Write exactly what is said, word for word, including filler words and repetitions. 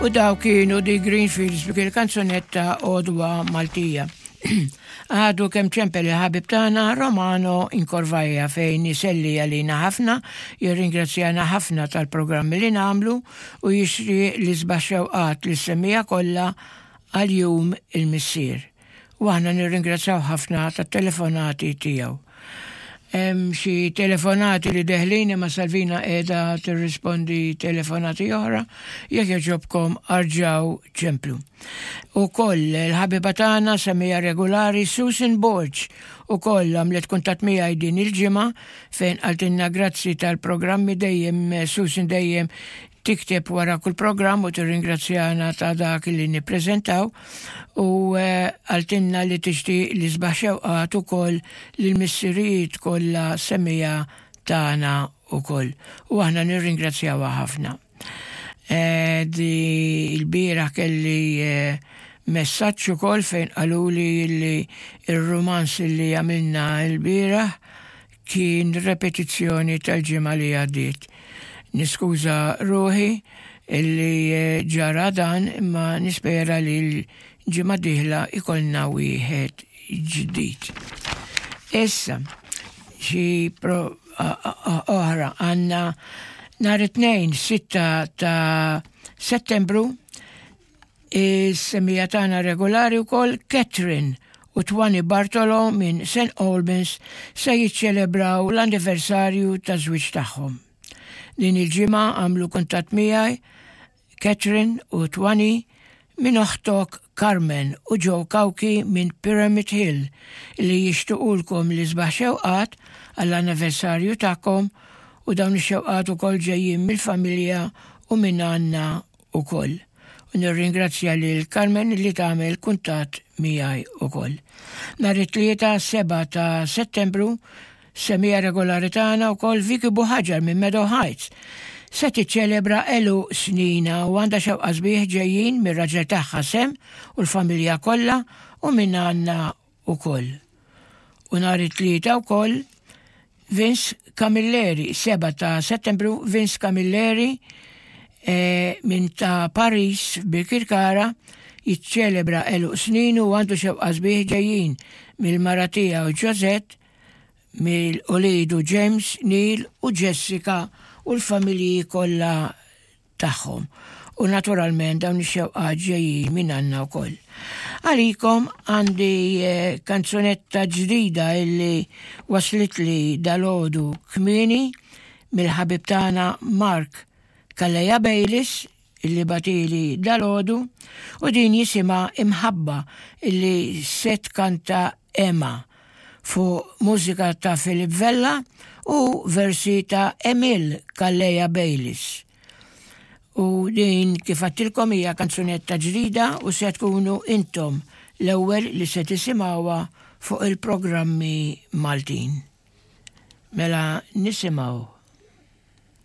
U daw kienu The Greenfields b'dik il-kanzunetta Għodwa Maltija. Għadu kemm ċempel il-ħabib tagħna Romano Incorvaja fejn iselli għalina ħafna, jirringrazzjana ħafna tal-programmi li nagħmlu u jixtieq l-isbaħ xewqat lis-semmiegħa kollha għal Jum il-Missier. U aħna nirringrazzjaw ħafna tat-telefonati tiegħu. Hemm xi telefonati li deħlin imma Salvina qiegħda tirrispondi telefonati oħra, jekk jogħġobkom erġgħu ċemplu. Ukoll il-ħabiba tagħna semmiegħa regolari Susan Borg ukoll għamlet kuntatt miegħi din il-ġimgħa fejn qaltilna grazzi tal-programmi. Dejjem Susan dejjem tikteb wara kull programm u tirringrazzjana ta' dak li nippreżentaw u qaltilna li tixtieq l-isbaħ xewqat ukoll lill-missirijiet kollha semmiegħa tagħna ukoll. U aħna nirringrazzjawha ħafna. Eh, di il-bieraħ kelli eh, messaġġ ukoll fejn qaluli li il-romans li għamilna il-bieraħ kien repetizzjoni tal-ġimgħa li għaddiet. Niskuża ruħi illi eh, ġara dan, imma nispera li l-ġimgħa dieħla ikollna wieħed ġdid. Issa, xi oħra għandna nhar it-Tnejn, sitta ta' Settembru, is-semmiegħa tagħna regolari wkoll Catherine u Twani Bartolo minn Saint Albans se jiċċelebraw l-anniversarju ta' żwieġ tagħhom. Din il-ġimgħa għamlu kuntatt miegħi Catherine u Twani minn oħtok Carmen u Joe Kauki minn Pyramid Hill li jixtiqulkom l-isbaħ xewqat għall-anniversarju tagħkom u dawn ix-xewqat ukoll ġejjin mill-familja u minn għandna ukoll. U nirringrazzja lil Carmen li tagħmel kuntatt miegħi ukoll. Nhar it-Tlieta, seba' ta' Settembru, semmiegħa regolari tagħna wkoll Vicky Buħaġar minn Meadow Heights se tiċċelebra għeluq snina u għandha xewqa sbieħ ġejjin mir-raġel tagħha Sem u l-familja kollha u minn għandna ukoll. U nhar it-Tlieta wkoll Vince Camilleri, seba' ta' Settembru, Vince Camilleri e, minn ta' Paris Birkirkara jiċċelebra għeluq snin u għandu xewqa sbieħ ġejjin mill-mara tiegħu Josette, mill-ulidu James, Neil u Jessica u l-familji kollha tagħhom. U naturalment dawn ix-xewqat ġejjin minn għandna wkoll. Għalikom għandi eh, kanzunetta ġdida illi waslitli dalgħodu kmieni mill-ħabib tagħna Mark Calleja Bayliss illi bagħatli dalgħodu u din jisimha Imħabba illi se tkanta Emma fuq mużika ta' Philip Vella u versi ta' Emil Calleja Bayliss. U din, kif għedtilkom, hija kanzunetta ġdida u se tkunu intom l-ewwel li se tisimgħuha fuq il-programmi Maltin. Mela nisimgħu.